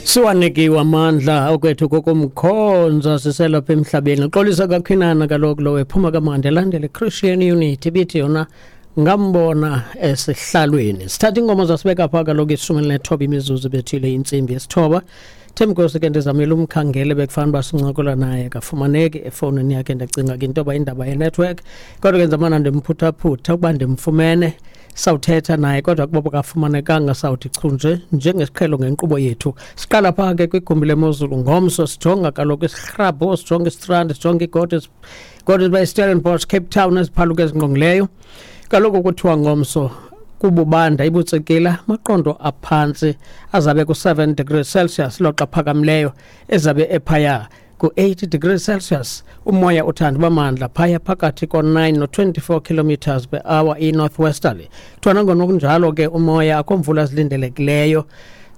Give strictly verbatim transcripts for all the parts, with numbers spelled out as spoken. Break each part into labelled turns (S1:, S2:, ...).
S1: Siwanikiwe amandla okwethu kokumkhonza siselapha emhlabeni. Xolisa kaKhinana kaloku lo ephuma kamandi elandele Christian Unity bithi yona ngambona esihlalweni. Sithatha ingoma zasibeka pha kaloku ishumi elinethoba imizuzu bethile intsimbi yesithoba. Themkosi ke ndizamile umkhangele bekufanele uba sincokola naye kafumaneki efowunini yakhe, ndicinga ke into yoba indaba yenetwork, kodwa ke ndizamana ndimphuthaphutha ukuba ndimfumene sawuthetha naye, kodwa kuba kafumanekanga sawuthi chu nje njengesiqhelo ngenkqubo yethu. Siqala phaa ke kwigumbi lemozulu ngomso, sijonga kaloku isihrabho, sijonga istrand, sijonga igodi, godi by Stellenbosch, Cape Town, eziphaluka ezingqongileyo. Kaloku kuthiwa ngomso kububanda ibutsekila maqondo aphantsi azabe ku-seven degrees Celsius, loxa phakamileyo ezabe ephaya ku-eight degrees Celsius. Umoya uthanda uba mandla phaya phakathi ko-nine no-twenty-four kilometers per hour i-northwesterly. Kuthiwa nangona kunjalo ke umoya akho mvula zilindelekileyo.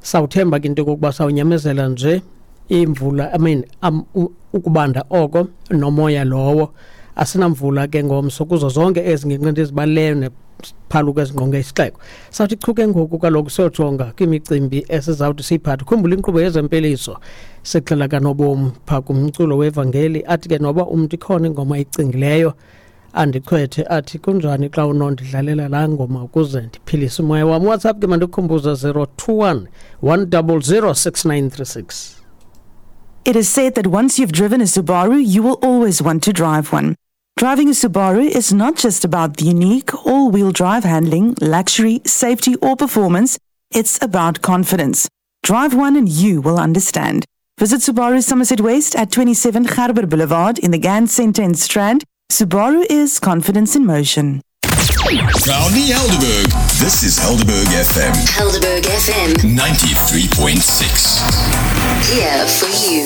S1: Sawuthemba ke into yokokuba sawunyamezela nje imvula, I mean, um, ukubanda oko nomoya lowo. Asinamvula ke ngomso kuzo zonke ezi ngingqi ndizibalileyo nephaluka ezingqonge isixeko. Sawuthi chu ke ngoku kaloku siyojonga kwimicimbi esizawuthi siyiphathe. Khumbula inkqubo yezempiliso sixela kanobomi phaa kumculo wevangeli, athi ke noba umntu ikhona ingoma ayicingileyo andichwethe athi kunjani xa unondidlalela laa ngoma ukuze ndiphilise umoya wam. WhatsApp ke mandikukhumbuze zero two one, one double zero six nine three six.
S2: It is said that once you've driven a Subaru, you will always want to drive one. Driving a Subaru is not just about the unique all-wheel drive handling, luxury, safety or performance. It's about confidence. Drive one and you will understand. Visit Subaru Somerset West at twenty-seven Gerber Boulevard in the Gans Centre in Strand. Subaru is confidence in motion.
S3: Proudly Helderberg. This is Helderberg F M.
S4: Helderberg F M.
S3: ninety-three point six.
S4: Here for you.